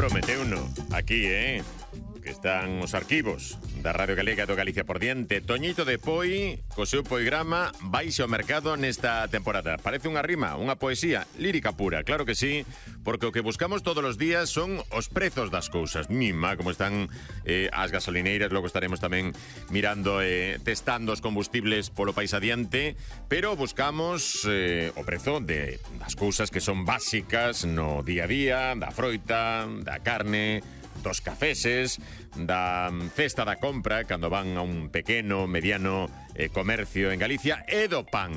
prometeuno aquí, que están os arquivos da Radio Galega do Galicia por diante. Toñito de Poi, co seu poigrama, baixe ao mercado nesta temporada. Parece unha rima, unha poesía lírica pura, claro que sí, porque o que buscamos todos os días son os prezos das cousas. Mima, como están as gasolineiras, logo estaremos tamén mirando, testando os combustibles polo país adiante, pero buscamos o prezo das cousas que son básicas no día a día, da froita, da carne, dos cafeses, da cesta da compra cando van a un pequeno, mediano comercio en Galicia, e do pan,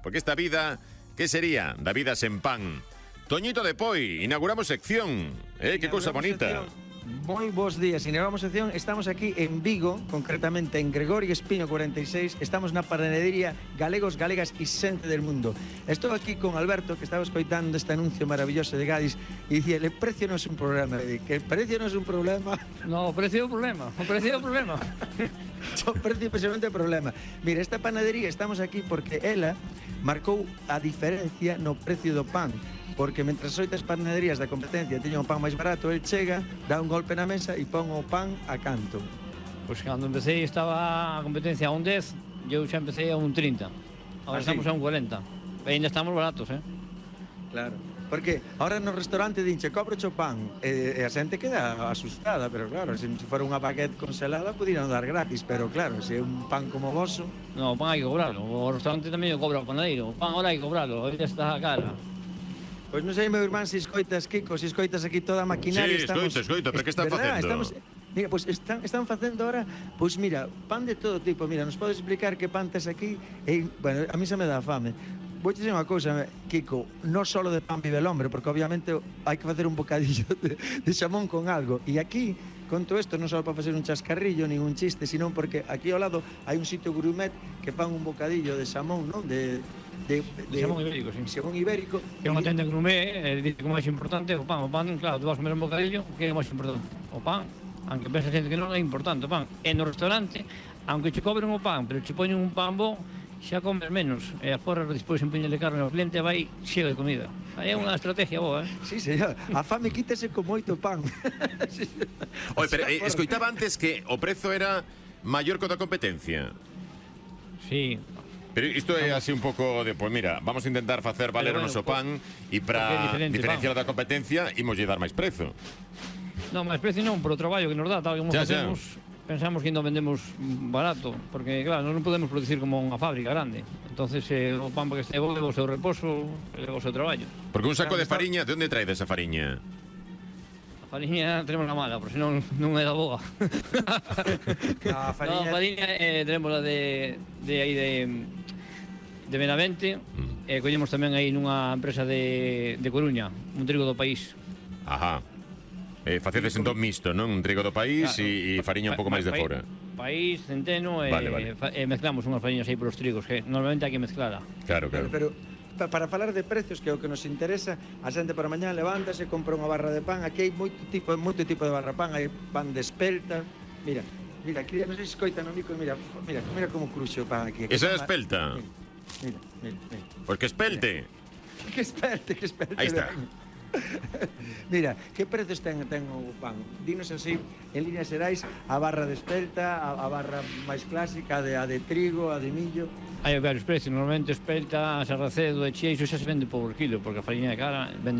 porque esta vida, que sería da vida sen pan? Toñito de Poi, inauguramos sección, que cousa bonita. Moi bons días, inauguramos sección. Estamos aquí en Vigo, concretamente en Gregorio Espino 46. Estamos na panadería Galegos, Galegas y Xente del Mundo. Estou aquí con Alberto, que estaba escoitando este anuncio maravilloso de Gadis, e dicía, el precio non é un problema. Que el precio non é un problema. No, o precio é o problema. O precio é o problema. O precio precisamente é o problema. Mira, esta panadería estamos aquí porque ela marcou a diferencia no precio do pan. Porque mentre as oitas panaderías da competencia teñen o pan máis barato, el chega, dá un golpe na mesa e pon o pan a canto. Pois cando empecé estaba a competencia a un 10, eu xa empecé a un 30. Agora estamos a un 40. E ainda estamos baratos, Claro. Porque ahora no restaurante dinche, cobroche o pan, e a xente queda asustada, pero claro, se fora unha baguette congelada, pudieran dar gratis, pero claro, se é un pan como voso... No, o pan hai que cobrarlo. O restaurante tamén o cobra o panadeiro. O pan ahora hai que cobrarlo, ainda está a cara. Pois non sei, meu irmán, se escoitas, Kiko, se escoitas aquí toda a maquinaria. Sí, escoito, pero que están facendo? Mira, pois están facendo ahora, pois mira, pan de todo tipo. Mira, nos podes explicar que pan tes aquí? Bueno, a mí se me dá fame. Vou dizer unha cousa, Kiko, non só de pan vive el hombre, porque obviamente hai que facer un bocadillo de xamón con algo. E aquí, con todo isto, non só para facer un chascarrillo, nin un chiste, sino porque aquí ao lado hai un sitio gourmet que fan un bocadillo de xamón, non? De xamón ibérico, sí. Xamón ibérico. Que unha tenda gourmet, dice que o máis importante é o pan. O pan, claro, tú vas a comer un bocadillo, que é o máis importante? O pan. Aunque pensa xente que non é importante o pan. E no restaurante, aunque che cobren o pan, pero che poñen un pan bo, xa comes menos. E aforra despois un puño de carne ao cliente vai cheo de comida. Aí é unha estrategia boa, Sí, señor. A fame quítese con moito pan. Sí. Oye, pero escoitaba antes que o prezo era maior que o da competencia. Sí. Pero isto é así un pouco de, pues mira, vamos a intentar facer valer o noso pan e para diferenciar da competencia imoslle dar máis prezo. Non, máis precio non, por o traballo que nos dá, tal como facemos, pensamos que non vendemos barato, porque claro, non podemos producir como unha fábrica grande. Entonces, o pan para que este bo, o seu reposo, o seu traballo. Porque un saco de fariña, de onde trae esa fariña? A fariña tenemos la mala, por si non é da boa. A fariña... No, a fariña tenemos la de aí de Benavente, e collemos tamén aí nunha empresa de Coruña, un trigo do país. Ajá. Facedes entón mixto, non? Un trigo do país e fariña un pouco máis de fora. País, centeno, vale. E mezclamos unhas fariñas aí polos trigos, que normalmente hai que mezclala. Claro. Pero para falar de precios, que é o que nos interesa, a xente para mañá levántase, compra unha barra de pan. Aquí hai moito tipo de barra de pan, hai pan de espelta. Mira, aquí non sei se escoitan o micro, mira como cruxe o pan aquí. Esa é a espelta? Mira. Pois que espelte. Que espelte. Aí está. Mira, que prezos ten o pan? Dinos así, en líneas xerais, a barra de espelta, a barra máis clásica, a de trigo, a de millo. Hai varios precios, normalmente espelta, sarracedo e chía, iso xa se vende por kilo, porque a fariña de cara vende